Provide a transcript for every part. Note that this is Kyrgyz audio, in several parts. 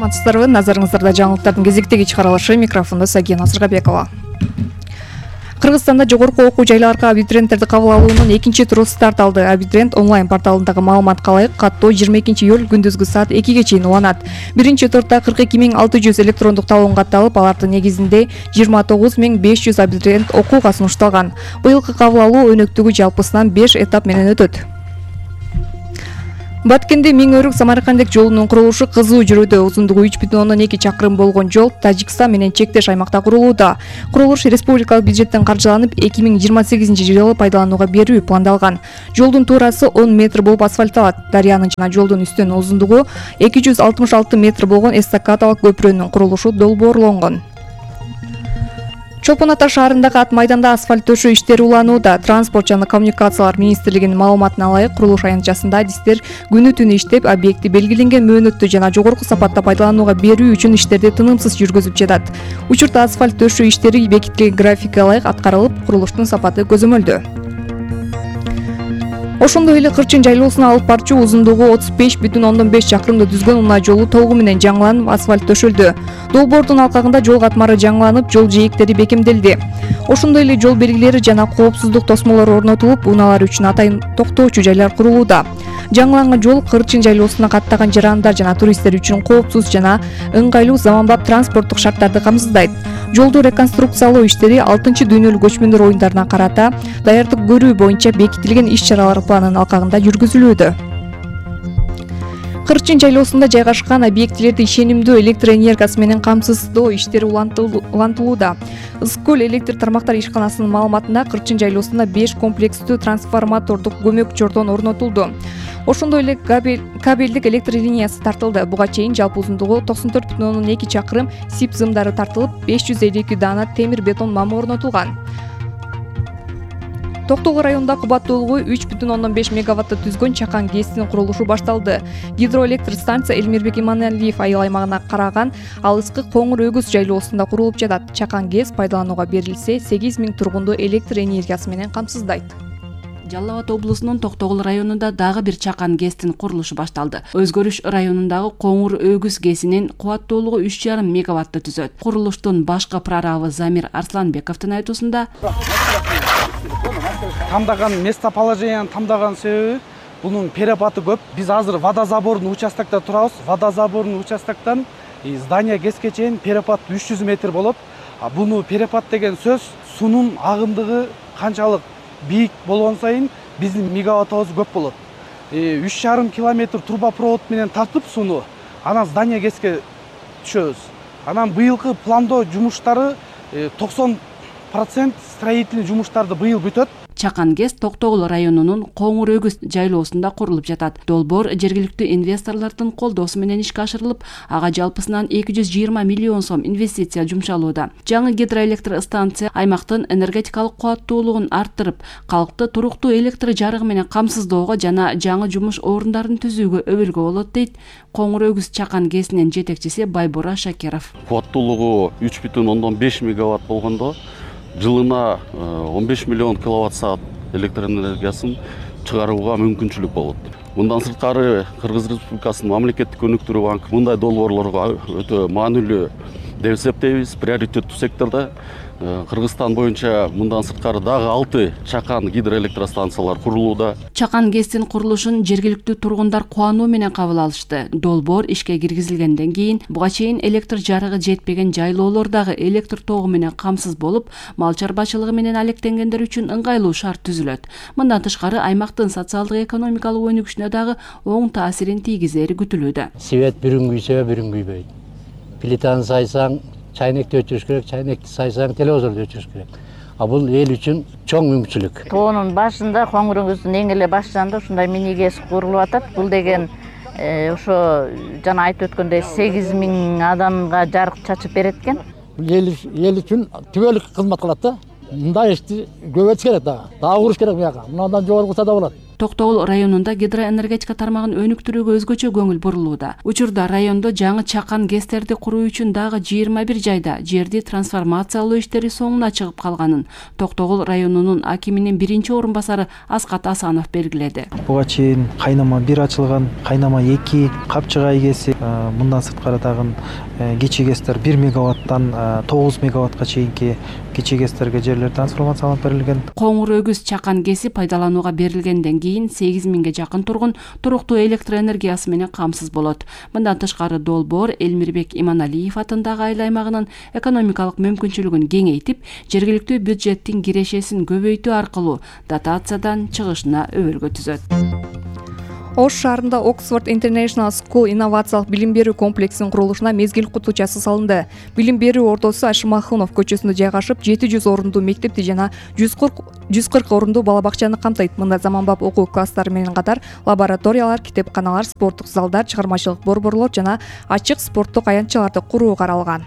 Саламатсыздарбы, назарыңыздарда жаңылыктардын кезектеги чыгарылышы, микрофондо Сагия Назарбекова. Кыргызстанда жогорку окуу жайларга абитуриенттерди кабыл алуунун экинчи туру старт алды. Абитуриент онлайн порталындагы маалыматка ылайык каттоо 22-июль күндүзгү саат 2ге чейин уланат. Биринчи турда 42.600 электрондук талон катталып, алардын негизинде 29.500 абитуриент окууга сунушталган. Быйылкы кабыл алуу өнөктүгү жалпысынан 5 этап менен өтөт. Баткенде Миң-Өрүк Самаркандек жолунун курулушу кызуу жүрүүдө. Узундугу 3,2 чакырым болгон жол Тажикстан менен чектеш аймакта курулууда. Курулуш республикалык бюджеттен каржыланып, 2028-жылы пайдаланууга берүү пландалган. Жолдун туурасы 10 метр болуп асфальтталат. Дарыянын жана жолдун үстүнүн узундугу 266 метр болгон эстакадалык көпүрөнүн курулушу долбоорлонгон. Чолпон Ата шаарындагы ат майданда асфальт төшөө иштери уланууда. Транспорт жана коммуникациялар министрлигинин маалыматына ылайык, курулуш аянтчасында адистер күнү-түнү иштеп, объекти белгиленген мөөнөттө жана жогорку сапатта пайдаланууга берүү үчүн иштерди тынымсыз жүргүзүп жатат. Учурда асфальт төшөө иштери бекитилген графикке ылайык аткарылып, курулуштун сапаты көзөмөлдө. Ошондой эле Кырчын жайлоосуна алып барчу узундугу 35,5 чакырымды түзгөн унаа жолу толугу менен жаңыланып, асфальт төшөлдү. Долбоордун алкагында жол катмары жаңыланып, жол жээктери бекемделди. Ошондой эле жол белгилери жана коопсуздук тосмолору орнотулуп, унаалар үчүн атайын токтоочу жайлар курулууда. Жаңыланган жол Кырчын жайлоосуна каттаган жарандар жана туристтер үчүн коопсуз жана ыңгайлуу заманбап транспорттук шарттарды камсыздайт. Жолду реконструкциялоо иштери 6-дүйнөлүк көчмөндөр оюндарына карата даярдык көрүү боюнча бекитилген иш-чаралар планынын алкагында жүргүзүлүүдө. Кырчын жайлоосунда жайгашкан объектилерди ишенимдүү электр энергиясы менен камсыздоо иштери улантылууда. Ысык көл электр тармактар ишканасынын маалыматында Кырчын жайлоосунда 5 комплекстүү трансформатордук көмөк чордон орнотулду. Ошондой эле кабелдик электр линиясы тартылды. Буга чейин жалпы узундугу 94,2 чакырым СИП зымдары тартылып, 552 даана темир бетон мамы орнотулган. Токтогул районунда кубаттуулугу 3,5 мегаватты түзгөн Чакан ГЭСтин курулушу башталды. Гидроэлектр станция Элмирбек Иманалиев айыл аймагына караган Алыскы Коңур Өгүз жайлоосунда курулуп жатат. Чакан ГЭС пайдаланууга берилсе, 8.000 тургунду электр энергиясы менен камсыздайт. Жалал Абад облусунун Токтогул районунда дагы бир Чакан ГЭСтин курулушу башталды. Өзгөрүш районундагы Коңур Өгүз ГЭСинин кубаттуулугу 3,5 мегаватты түзөт. Курулуштун башкы прорабы Замир Арсланбековдун айтуусунда, тамдаган местоположениянын тамдаган себеби бунун перепаты көп. Биз азыр водозабордун участокто турабыз. Водозабордун участоктон здание ГЭСке чейин перепат 300 метр болот. Буну перепат деген сөз суунун агымдыгы канчалык бийик болгон сайын биздин мегаваттыбыз көп болот. 3,5 километр трубопровод менен тартып сууну, анан здание ГЭСке түшөбүз. Анан быйылкы пландоо жумуштары 90% строительный жумуштарды быйыл бүтөт. Чакан ГЭС Токтогул районунун Коңур Өгүз жайлоосунда курулуп жатат. Долбоор жергиликтүү инвесторлордун колдоосу менен ишке ашырылып, ага жалпысынан 220 миллион сом инвестиция жумшалууда. Жаңы гидроэлектр станция аймактын энергетикалык кубаттуулугун арттырып, калкты туруктуу электр жарыгы менен камсыздоого жана жаңы жумуш орундарын түзүүгө өбөлгө болот, дейт Коңур Өгүз Чакан ГЭСинин жетекчиси Байбора Шакиров. Кубаттуулугу 3,5 мегаватт болгондо жылына 15 миллион киловатт-саат электр энергиясын чыгарууга мүмкүнчүлүк болот. Мындан сырткары Кыргыз Республикасынын мамлекеттик өнүктүрүү банкы мындай долбоорлорго өтө маанилүү деп эсептейбиз. Приоритеттүү секторда Кыргызстан боюнча мындан сырткары дагы 6 Чакан гидроэлектростанциялар курулууда. Чакан ГЭСтин курулушун жергиликтүү тургундар кубануу менен кабыл алышты. Долбоор ишке киргизилгенден кийин буга чейин электр жарыгы жетпеген жайлоолордагы электр тогу менен камсыз болуп, мал чарбачылыгы менен алектенгендер үчүн ыңгайлуу шарт түзүлөт. Мындан тышкары аймактын социалдык экономикалык өнүгүшүнө дагы оң таасирин тийгизери күтүлүүдө. Свет бирин күйсө бирин күйбөйт. Плитаны сайсаң чайнекти өчүрүш керек, чайнекти сайсаң телевизорду өчүрүш керек. Бул эл үчүн чоң мүмкүнчүлүк. Тоонун башында, Коңур Өгүздүн эң эле баш жанында ушундай мини ГЭС курулуп атат. Бул деген ошо жана айтып өткөндөй 8.000 адамга жарык чачып берет экен. Эл үчүн түбөлүк кызмат кылат да. Мындай ишти көбөйтүш керек дагы. Дагы куруш керек буяка. Мындан жогору кылса да болот. Токтогул районунда гидроэнергетика тармагын өнүктүрүүгө өзгөчө көңүл бурулууда. Учурда райондо жаңы чакан ГЭСтерди куруу үчүн дагы 21 жайда жерди трансформациялоо иштери соңуна чыгып калганын Токтогул районунун акиминин биринчи орун басары Аскат Асанов белгиледи. Буга чейин кайнама 1 ачылган, кайнама 2, Капчыгай ГЭСи, мындан сырткары дагы кичи ГЭСтер 1 мегаваттан 9 мегаватка чейинки кичи ГЭСтерге жерлер трансформацияланып берилген. Коңур өгүз чакан ГЭСи пайдаланууга берилгенден кийин 8000ге жакын тургун туруктуу электр энергиясы менен камсыз болот. Мындан тышкары Долбоор Элмирбек Иманалиев атындагы айыл аймагынын экономикалык мүмкүнчүлүгүн кеңейтип, жергиликтүү бюджеттин кирешесин көбөйтүү аркылуу дотациядан чыгышына өбөлгө түзөт. Ош шаарында Oxford International School инновациялык билим берүү комплексинин курулушуна мезгил кутучасы салынды. Билим берүү ордосу Ашымахунов көчөсүндө жайгашып, 700 орундуу мектепти жана 140 орундуу бала бакчаны камтыйт. Мында заманбап окуу класстары менен катар лабораториялар, китепканалар, спорттук залдар, чыгармачылык борборлор жана ачык спорттук аянтчаларды куруу каралган.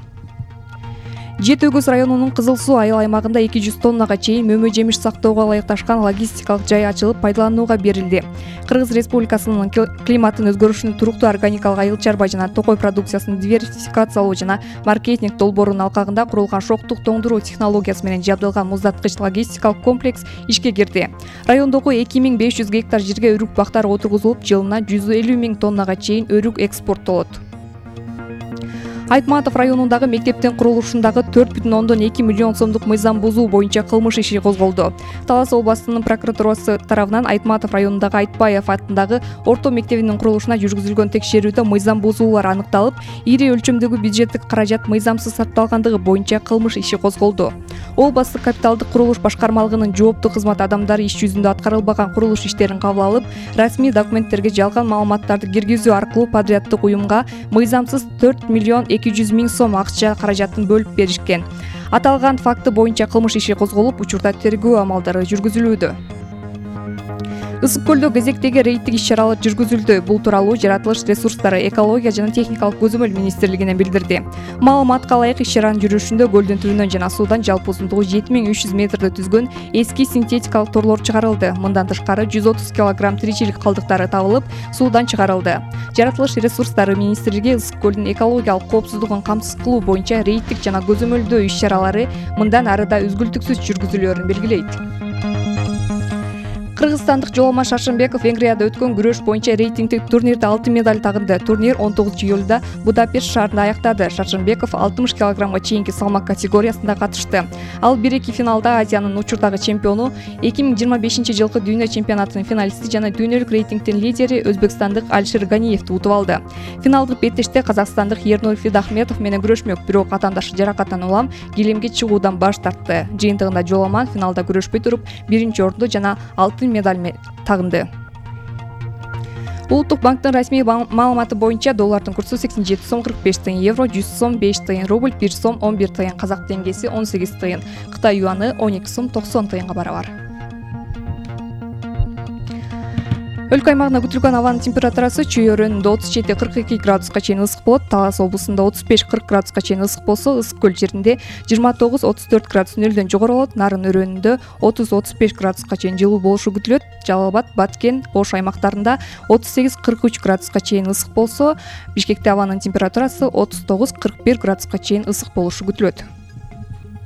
Жети Өгүз районунун Кызыл Суу айыл аймагында 200 тоннага чейин мөмө жемиш сактоого ылайыкташкан логистикалык жай ачылып пайдаланууга берилди. Кыргыз Республикасынын климаттын өзгөрүшүнүн туруктуу органикалык айыл чарба жана токой продукциясын диверсификациялоо жана маркетинг долбоорунун алкагында курулган шоктук тоңдуруу технологиясы менен жабдылган муздаткыч логистикалык комплекс ишке кирди. Райондогу 2500 гектар жерге өрүк бактар отургузулуп, жылына 150 000 тоннага чейин өрүк экспорттолот. Айтматов районундагы мектептин курулушундагы 4,2 миллион сомдук мыйзам бузуу боюнча кылмыш иши козголду. Талас областынын прокуратурасы тарабынан Айтматов районундагы Айтбаев атындагы орто мектебинин курулушуна жүргүзүлгөн текшерүүдө мыйзам бузуулар аныкталып, ири өлчөмдөгү бюджеттик каражат мыйзамсыз сарпталгандыгы боюнча кылмыш иши козголду. Областтык капиталдык курулуш башкармалыгынын жооптуу кызмат адамдары иш жүзүндө аткарылбаган курулуш иштерин кабыл алып, расмий документтерге жалган маалыматтарды киргизүү аркылуу подряддык уюмга мыйзамсыз 4 миллион 200 000 сом акча каражатын бөлүп беришкен. Аталган факты боюнча кылмыш иши козголуп, учурда тергөө амалдары жүргүзүлүүдө. Ысык көлдө кезектеги рейдтик иш-чаралар жүргүзүлдү. Бул тууралуу Жаратылыш ресурстары, экология жана техникалык көзөмөл министрлигинен билдирди. Маалыматка ылайык иш-чаранын жүрүшүндө көлдүн түбүнөн жана суудан жалпы узундугу 7300 метрди түзгөн эски синтетикалык торлор чыгарылды. Мындан тышкары 130 килограмм тиричилик калдыктары табылып, суудан чыгарылды. Жаратылыш ресурстары министрлиги ысык көлдүн экологиялык коопсуздугун камсыз кылуу боюнча рейдтик жана көзөмөлдөө иш-чаралары мындан ары да үзгүлтүксүз жүргүзүлөөрүн белгилейт. Кыргызстандык Жоломон Шаршенбеков Венгрияда өткөн күрөш боюнча рейтингдик турнирде алтын медаль тагынды. Турнир 19 июлда Будапешт шаарында аяктады. Шаршенбеков 60 килограммга чейинки салмак категориясында катышты. Ал 1-2 финалда Азиянын учурдагы чемпиону, 2025 жылкы дүйнө чемпионатынын финалисти жана дүйнөлүк рейтингдин лидери өзбекстандык Алишер Ганиевди утуп алды. Финалдык беттеште казакстандык Ернур Фидахметов менен күрөшмөк, бирок атаандашы жаракаттан улам килемге чыгуудан баш тартты. Жыйынтыгында Жоломон финалда күрөшпөй туруп, биринчи орунду жана алтын медаль тагынды. Улуттук банктын расмий маалыматы боюнча доллардын курсу 87 сом 45 тыйын, евро 100 сом 5 тыйын, рубль 1 сом 11 тыйын, казак теңгеси 18 тыйын, Кытай юаны 12 сом 90 тыйынга барабар. Өлкө аймагында күтүлгөн абанын температурасы чүй өрөөнүндө 37-42 градуска чейин ысык болот, Талас облусунда 35-40 градуска чейин ысык болсо, Ысык көл жеринде 29-34 градус нөлдөн жогору болот, Нарын өрөөнүндө 30-35 градуска чейин жылуу болушу күтүлөт. Жалал Абад, Баткен, Ош аймактарында 38-43 градуска чейин ысык болсо, Бишкекте абанын температурасы 39-41 градуска чейин ысык болушу күтүлөт.